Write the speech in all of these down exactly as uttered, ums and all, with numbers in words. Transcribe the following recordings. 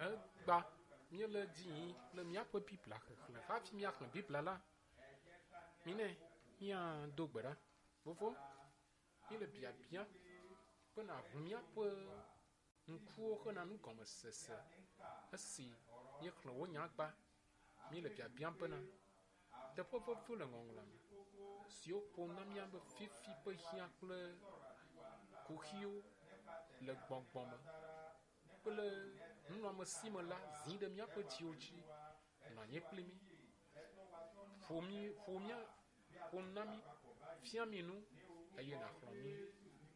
Egba míele dzi yim le míaƒe Biblia xexlẽ. Hafi míaxlẽ Biblia la, minɛ míado gbe ɖa. Fofo, míele biabia be nàʋu míaƒe ŋkuwo hena nugɔmesese esi míexlẽ wò nyagba. Míele biabiam bena teƒe veviwo le ŋɔŋlɔa me siwo ƒom na mía be fifi ƒe hiã kple kuxiwo le gbɔgbɔ me kple nunɔamesi me la zi ɖe míaƒe dziwo dzi. Nɔ anyi kpli mí. Ƒo mí, ƒo mía, ƒo nu na mí, fia mí nu eye nàxlɔ̃ mí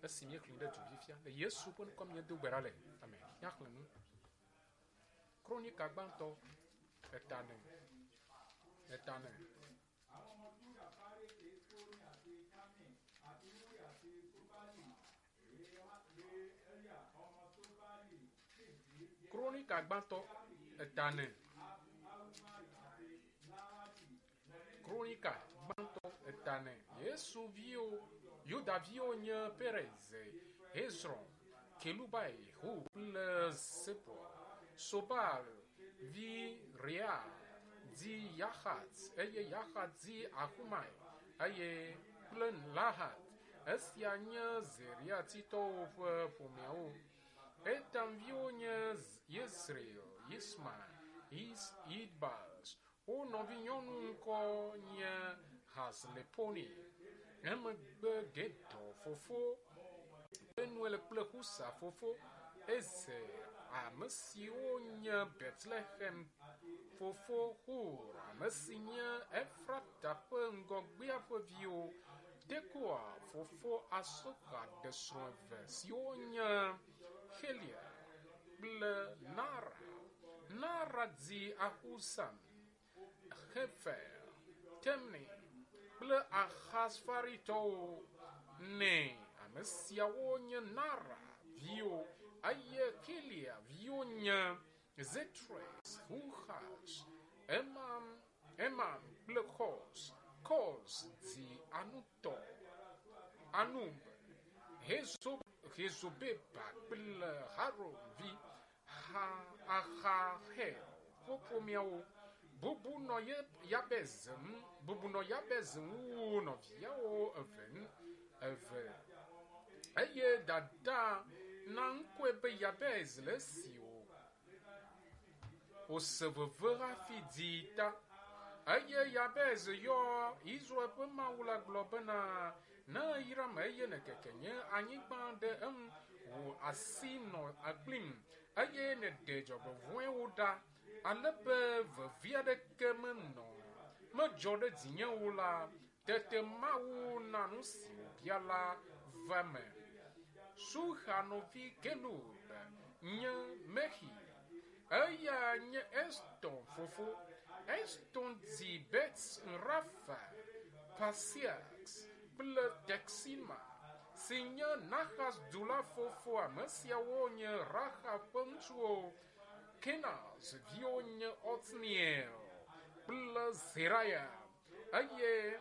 esi míexlẽ ɖe du fifia. Le Yesu ƒe ŋkɔ míedo gbe ɖa le. Amen. Míaxlẽ nu. Kronika gbãtɔ eta ene. Eta ene. Kronika gbãtɔ eta ene. Kronika gbãtɔ eta ene. Yesu viwo, Yuda viwo nye Perez, Hezron, Kelubai, Hu kple Zebul. Sobal vi Rea dzi Yahat eye Yahat dzi Ahumai eye kple Lahat. Esia nye Zeriatitɔwo ƒe ƒomeawo. Etam viwo nye Yezreel, Yisma, Is, Idbas. Wo nɔvinyɔnu ŋkɔ nye Hazleponi. Emegbe Gedor fofo Penuel kple Husa fofo Ezer, ame siwo nye Betlehem fofo Hur, ame si nye Efrata ƒe ŋgɔgbea ƒe viwo. Tekoa fofo Asoxa ɖe srɔ̃ eve siwo nye Helia kple Nara. Nara dzi Ahuzam, Hefer, Temni kple Ahasfaritɔwo nɛ. Ame siawo nye Nara viwo eye Helia viwo nye Zetres, Huhas, Emam, Emam kple Kos. Kos dzi Anutɔ, Anub, Hezo, Hezobeba kple Harom vi ha, Ahahel ƒe ƒomeawo. Bubu nɔ Yabez ŋu, bubu nɔ Yabez ŋu wu nɔviawo eve ŋu eve eye dada na ŋkɔe be Yabez le esi wòse veve hafi dii ta. Eye Yabez yɔ Israel ƒe Mawu la gblɔ bena, ne eyram eye nèkeke nye anyigba ɖe eŋu, wò asi nɔ kplim eye nèɖe dzɔgbevɔ̃ewo ɖa ale be vevi aɖeke menɔ medzɔ ɖe dzinye o la, tete Mawu na nu si wòbia la va eme. Suha nɔvi Kelub nye Mehi. Eya nye Eston fofo. Eston dzi Bet Rafa, Pasiax kple Texima si nye Nahas du la fofo. Ame siawo nye Raxa ƒe ŋutsuwo. Kenaz viwo nye Otniel kple Zeraya eye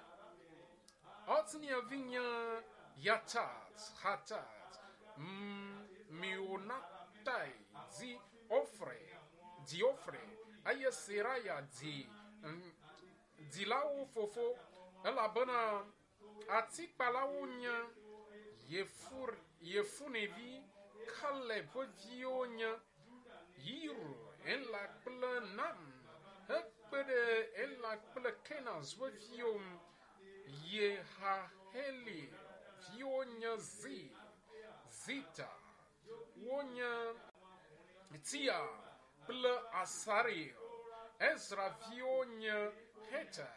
Otniel vi nye Yatat, Hatat, Meonatai dzi Ofre, dzi Ofre eye Seraya dzi dzilawo fofo elabena atikpalawo nye Yefur, Yefunevi, Kaleb ƒe viwo nye Yiru, Ela kple Nam hekpe ɖe Ela kple Kenaz ƒe viwo ŋu. Yehaheli viwo nye Zi, Zita, wonye Tia kple Asariel. Ezra viwo nye Heta,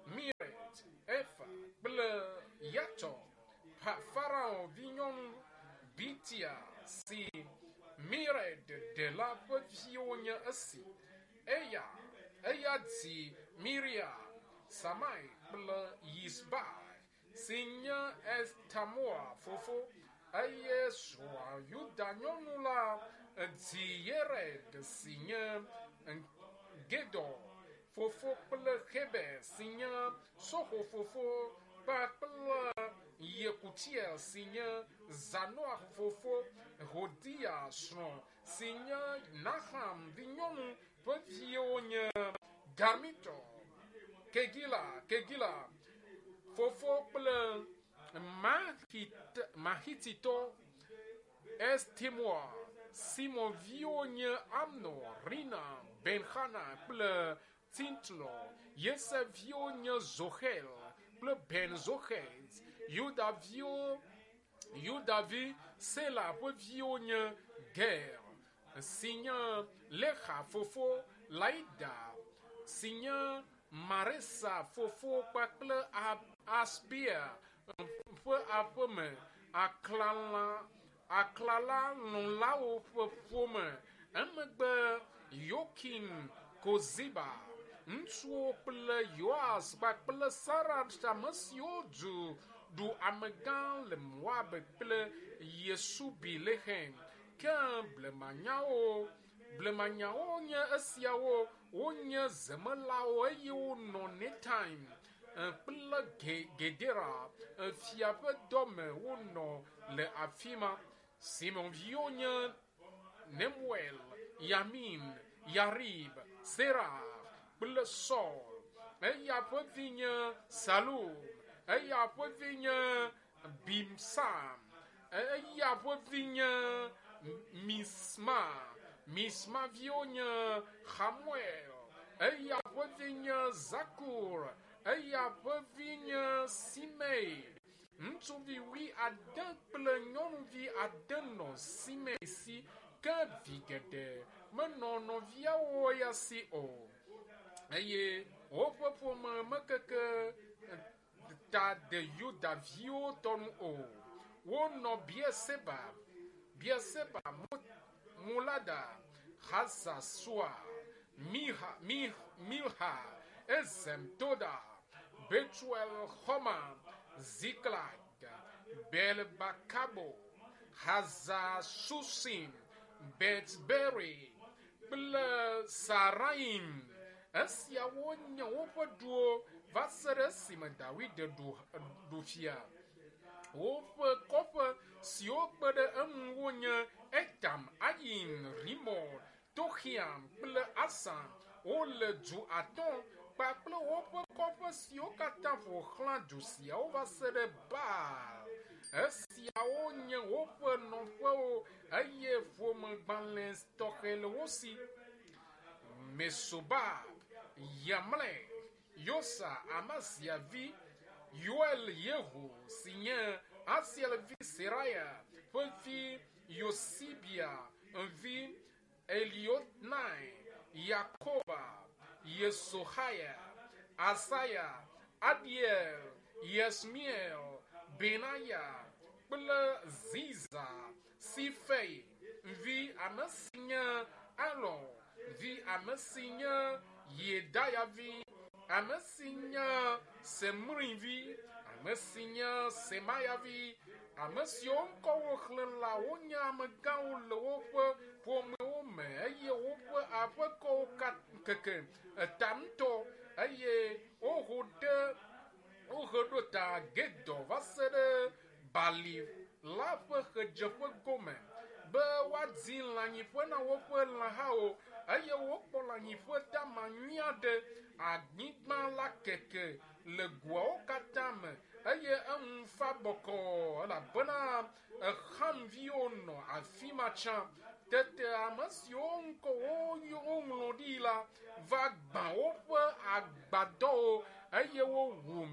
Miret, Efa kple Yatɔ. Farao vinyɔnu Bitia si Mired ɖe la ƒe viwo nye esi. Eya, eya dzi Miriam, Samai kple Yisbai si nye Estamoa fofo eye srɔ̃a Yuda nyɔnu la dzi Yered si nye Gedor fofo kple Heber si nye Soxo fofo kpakple Yekutiel si nye Zanoah fofo, Hodia srɔ̃ si nye Naham vinyɔnu ƒe viwo nye Garmitɔ, Kegila, Kegila fofo kple Mahititɔ Estemoa. Simon viwo nye Amnon, Rina, Benhana kple Tintlɔ. Yosef viwo nye Zohel kple Ben Zohet. Yuda viwo Yudavi Sela ƒe viwo nye Ger si nye Lexa fofo, Laida si nye Maresa fofo kpakple Asbea ƒe aƒeme, aklala aklalalɔ̃lawo ƒe ƒome. Emegbe Yokim Koziba, ŋutsuwo kple Yoas kpakple Saraf, ame siwo du ɖu amegã le Moab kple Yesubi Lehem. Ke blemanyawo blemanyawo nye esiawo. Wonye zemelawo eye wonɔ Netaim kple Gedera fia ƒe dɔme wonɔ le afi ma. Simeon viwo nye Nemuel, Yamin, Yarib, Serah kple Saul. Eya ƒe vi nye Salum, eya ƒe vi nye Bimsam, eya ƒe vi nye Misma. Misma viwo nye Hamuel, eya ƒe vi nye Zakur, eya ƒe vi nye Simei. Ŋutsuvi wui ade kple nyɔnuvi ade nɔ Simei si, ke vi geɖe menɔ nɔviawo ya si o. Eye woƒe ƒome mekeke ta de Yuda viwo tɔ nu o. Wonɔ Beerseba, Beerseba, Molada, Hazasua, Miha, Milha, Ezem, Toda, Betuel, Xɔma, Ziklag, Belbakabo, Hazasusim, Betberi kple Saraim. Esiawo nye woƒe duwo va se ɖe esime Dawid ɖu ɖu fia. Woƒe kɔƒe siwo kpe ɖe eŋu wonye Etam, Ayin, Rimon, Toxiam kple Asan. Wole du atɔ̃ kpakple woƒe kɔƒe siwo katã ƒo xlã du siawo va se ɖe Baal. Esiawo nye woƒe nɔƒewo eye ƒomegbalẽ tɔxɛ le wo si. Mesobab, Yamlek, Yosa, Amazia vi, Yoel Yehu si nye Asiel vi Seraya ƒe vi Yosibia vi Elionai, Yakoba, Yesohaya, Asaya, Adiel, Yesmiel, Benaya kple Ziza, Sifei vi ame si nye Alon vi ame si nye Yedaya vi ame si nye Semri vi ame si nye Semaya vi ame siwo ŋkɔ woxlẽ la wonye amegãwo le woƒe ƒomewo me eye woƒe aƒekɔwo keke eta ŋutɔ eye woho ɖe wohe ɖo ta Gedor va se ɖe bali la ƒe ɣedzeƒe gome be woadi lãnyiƒe na woƒe lãhawo eye wokpɔ lãnyiƒe dama nyui aɖe. Anyigba la keke le goawo katã me eye eŋu fa bɔkɔɔ elabena Hamviwo nɔ afi ma tsã. Tete ame siwo ŋkɔ woŋlɔ ɖi la va gbã woƒe agbadɔwo eye wowu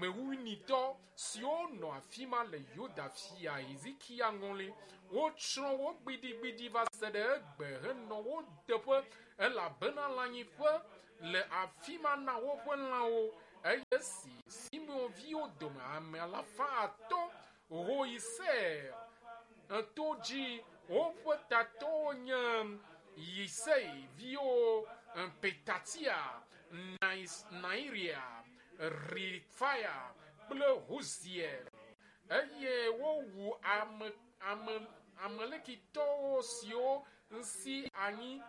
Meunitɔ siwo nɔ afi ma le Yuda fia Hezekia ŋɔli. Wotsrɔ̃ wo gbidigbidi va se ɖe egbe henɔ wo teƒe elabena lãnyiƒe le afi ma na woƒe lãwo. Eye esi Simeon viwo dome ame alafa atɔ̃ ho yi Seir to dzi, woƒe tatɔwo nye Yisei viwo Petatia, Nairia, Refaya kple Huziel. Eye wowu ame ame Amalekitɔwo siwo si anyi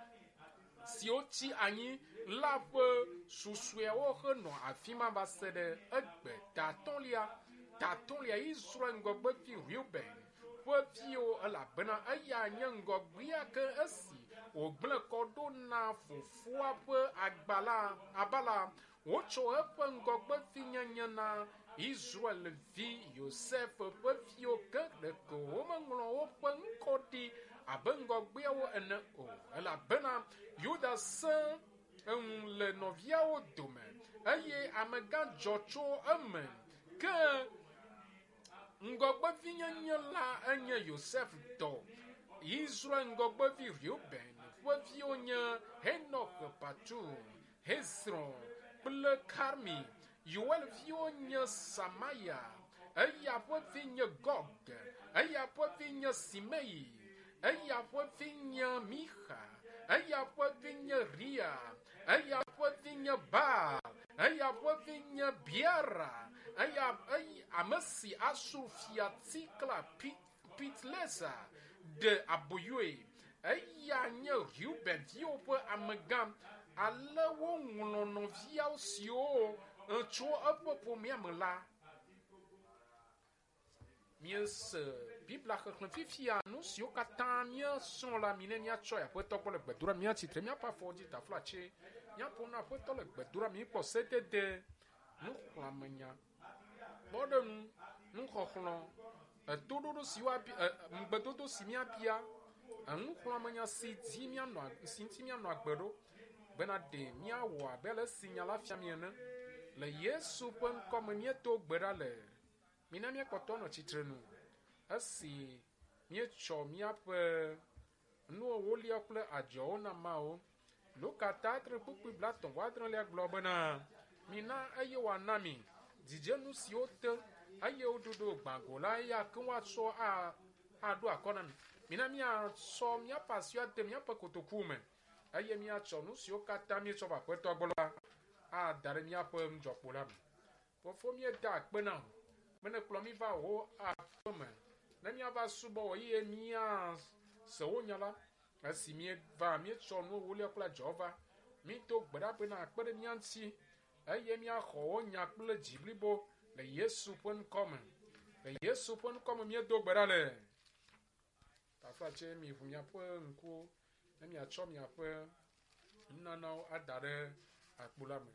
siwo tsi anyi la ƒe susɔeawo henɔ afi ma va se ɖe egbe ta atɔ̃lia. Tatɔlia Israel ŋgɔgbevi Reuben ƒe viwo elabena eya nye ŋgɔgbea ke esi wògblẽ kɔ ɖo na fofoa ƒe agbala abala wotsɔ eƒe ŋgɔgbevinyenye na Israelvi Yosef ƒe viwo ke ɖeko womeŋlɔ woƒe ŋkɔ ɖi abe ŋgɔgbeawo ene o elabena Yuda sẽ eŋu le nɔviawo dome eye amegã dzɔ tso eme ke ŋgɔgbevinyenye la enye Yosef tɔ. Israel ŋgɔgbevi Reuben ƒe viwo nye Henok Patu, Hezron kple Karmi. Yoel viwo nye Samaya, eya ƒe vi nye Gog, eya ƒe vi nye Simei, eya ƒe vi nye Mixa, eya ƒe vi nye Ria, eya ƒe vi nye Baal, eya ƒe vi nye Biara, eya eyi ame si Asur fia Tikla Pitlesa ɖe aboyoe. Eya nye Reuben viwo ƒe amegã. Ale woŋlɔ nɔviawo siwo tso eƒe ƒomea me la. Míese Biblia xexlẽ fifia nu siwo katã míesrɔ̃ la mi ne míatsɔ aƒetɔ gbɔ le gbedoɖa míatsitre míaƒe afɔwo dzi taflatse míaƒo na aƒetɔ le gbedoɖa míkpɔ sedede nuxlɔ̃amenya kpɔɖeŋu nuxɔxlɔ̃ etoɖoɖo si woabia ŋugbedodo si míabia enuxlɔ̃amenya si dzi míanɔ si ŋuti míanɔ agbe ɖo bena ɖe míawɔ abe ale si nya la fia mi ene le Yesu ƒe ŋkɔme míedo gbe ɖa le mina míakpɔtɔ nɔ tsitre nu esi míetsɔ míaƒe nu ewolia kple adzɔwo na Mawu. Luka ta adre kpukpui blatɔ̃ vɔ adrelia gblɔ bena mina eye wòana mi dzidzenu siwo te eye woɖoɖo gbãgo la eya ke woatsɔ aɖo akɔ na mi. Mina míatsɔ míaƒe asiwo ade míaƒe kotoku me eye míatsɔ nu siwo katã míetsɔ va aƒetɔ gbɔ la ada ɖe míaƒe nudzɔkpo la me. Fofo míeda akpe na wò be nèkplɔ mí va wò aƒe me ne míava subɔ wò eye míase wò nya la esi míeva míetsɔ nu ewolia kple adzɔwo va mído gbe ɖa bena akpe ɖe mía ŋuti eye míaxɔ wò nya kple dzi blibo le Yesu ƒe ŋkɔ me. Le Yesu ƒe ŋkɔ me míedo gbe ɖa le. Taflatse miʋu miaƒe ŋkuwo ne miatsɔ miaƒe nunanawo ada ɖe akpo la me.